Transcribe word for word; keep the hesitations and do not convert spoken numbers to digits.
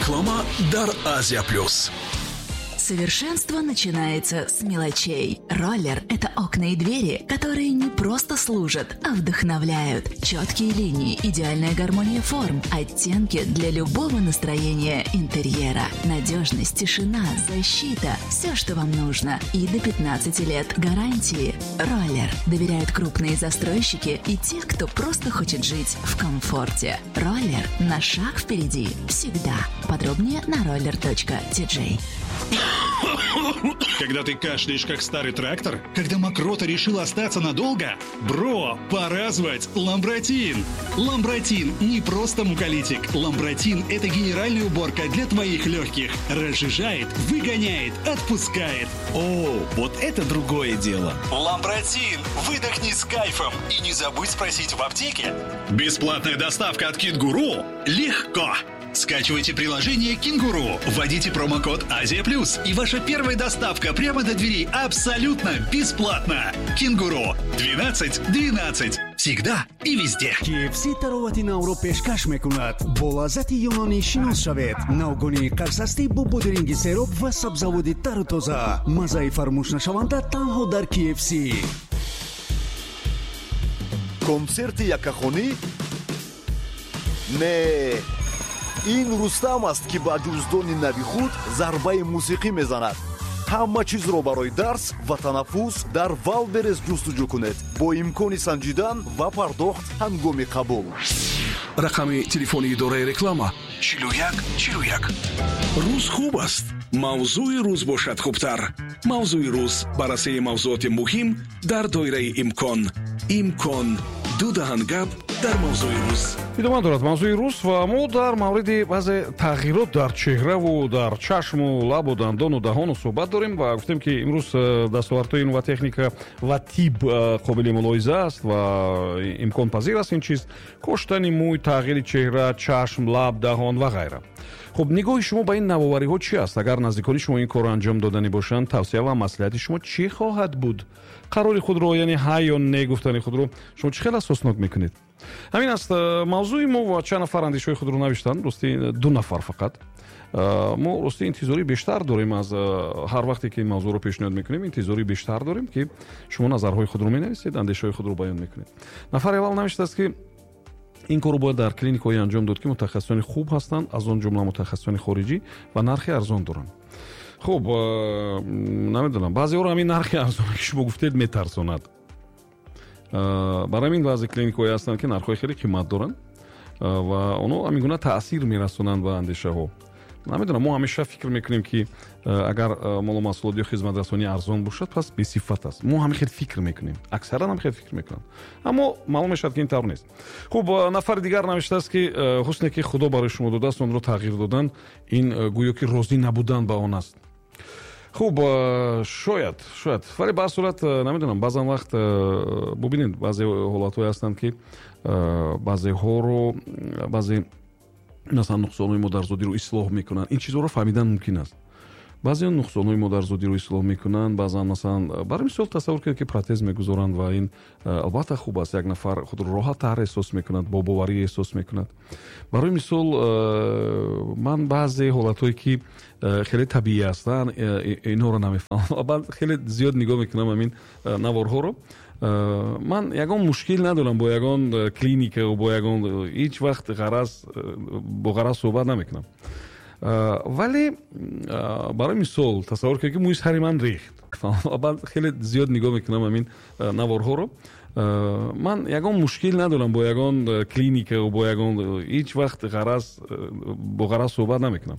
Реклама дар Азия Плюс. Совершенство начинается с мелочей. Роллер – это окна и двери, которые не просто служат, а вдохновляют. Четкие линии, идеальная гармония форм, оттенки для любого настроения интерьера. Надежность, тишина, защита – все, что вам нужно. И до пятнадцати лет гарантии. Роллер доверяют крупные застройщики и те, кто просто хочет жить в комфорте. Роллер на шаг впереди всегда. Подробнее на роллер точка ти джей. Когда ты кашляешь, как старый трактор? Когда мокрота решила остаться надолго? Бро, пора звать Ламбратин! Ламбратин не просто муколитик. Ламбратин – это генеральная уборка для твоих легких. Разжижает, выгоняет, отпускает. О, вот это другое дело! Ламбратин! Выдохни с кайфом и не забудь спросить в аптеке. Бесплатная доставка от Кенгуру? Легко! Скачивайте приложение «Кенгуру», вводите промокод «Азия Плюс», и ваша первая доставка прямо до двери абсолютно бесплатно. «Кенгуру» двенадцать двенадцать. Всегда и везде. кей эф си таровати навро пешкаш мекунад. Бо лаззати юнонӣ шинос шавед. Навгонии қарсастӣ бо бодиринги сероб ва сабзаводи тару тоза. Маззаи фаромӯшнашаванда танҳо дар кей эф си. Консерти яккахонӣ? Не... Ин Рустам аст, ки ба ҷуздони нави худ зарбаи мусиқӣ мезанад. Ҳама чизро барои дарс ва танаффус дар Валберес ҷустуҷӯ кунед бо имкони санҷидан ва пардохт ҳангоми қабул. Рақами телефони идораи реклама чилу як чилу як. Рӯз хуб аст, мавзӯи рӯз бошад хубтар. Мавзӯи рӯз баррасии мавзӯоти муҳим дар доираи имкон. Имкон ду даҳан гап дар мавзӯи рӯз. Идома дорад мавзӯи рӯз ва мо дар мавриди баъзе тағйирот дар чеҳраву дар чашму лабу дандону даҳону суҳбат дорем ва гуфтем, ки имрӯз э, дастовардҳои илм ва техника ва тиб э, қобили мулоҳиза аст ва имконпазир аст ин чиз: коштани мӯй, тағйири чеҳра, чашм, лаб, даҳон ва ғайра. Хуб, нигоҳи шумо ба ин навовариҳо чӣ аст? Агар наздикони шумо ин корро анҷом доданӣ бошанд, тавсия ва маслиҳати шумо чӣ хоҳад буд? Қарори худро, яъне ҳа ё не гуфтани худро шумо чӣ хел асоснок мекунед? Ҳамин аст э, мавзӯи мо ва чанд нафар андешаҳои худро навиштанд. Рости, ду нафар фақат. Э, мо рости интизории бештар дорем аз э, ҳар вақте ки ин мавзӯъро пешниҳод мекунем, интизории бештар дорем, ки шумо назарҳои худро менависед, андешаҳои худро баён мекунед. Нафари аввал навиштааст, ки ин корро бояд дар клиникаҳое анҷом дод, ки мутахассисони хуб ҳастанд, аз он ҷумла мутахассисони хориҷӣ, ва нархи арзон доранд. Хуб, намедонам, баъзеҳоро ҳамин нархи арзоне, ки шумо гуфтед, метарсонад. Барои ҳамин баъзе клиникаҳое ҳастанд, ки нархҳои хеле қимат доранд ва онҳо ҳамин гуна таъсир мерасонанд ба андешаҳо. Намедонам, мо ҳамеша фикр мекунем, ки агар молу маҳсулот ё хизматрасонӣ арзон бошад, пас бесифат аст. Мо ҳамин хел фикр мекунем, аксаран ҳам хел фикр мекунанд, аммо маълум мешавад, ки ин тавр нест. Хуб, нафари дигар навиштааст, ки ҳусне, ки Худо барои шумо додааст, онро тағйир додан ин гӯё ки розӣ набудан ба он аст. Хуб, шояд, шояд, вале ба ҳар сурат, намедонам, баъзан вақт бубинед, баъзе ҳолатҳое ҳастанд, ки баъзеҳоро, баъзе масалан нуқсонҳои модарзодиро ислоҳ мекунанд. Ин чизҳоро фаҳмидан мумкин аст. Баъзе нуқсонҳои модарзодиро ислоҳ мекунанд, баъзан масалан, барои мисол тасаввур кунед, ки протез мегузоранд ва ин албатта хуб аст, як нафар худро роҳаттар эҳсос мекунад, бо боварӣ эҳсос мекунад. Барои мисол, ман баъзе ҳолатҳое, ки хеле табиӣ ҳастанд, инҳоро намефаҳмам. Баъд хеле зиёд нигоҳ мекунам ҳамин наворҳоро. Ман ягон мушкил надорам бо ягон клиника, бо ягон, ҳеҷ вақт ғараз бо ғараз суҳбат намекунам. Вале барои мисол тасаввур кунед, ки мӯи сари ман рехт. Баъд хеле зиёд нигоҳ мекунам ҳамин наворҳоро. Ман ягон мушкил надорам бо ягон клиника, бо ягон, ҳеҷ вақт ғараз бо ғараз суҳбат намекунам.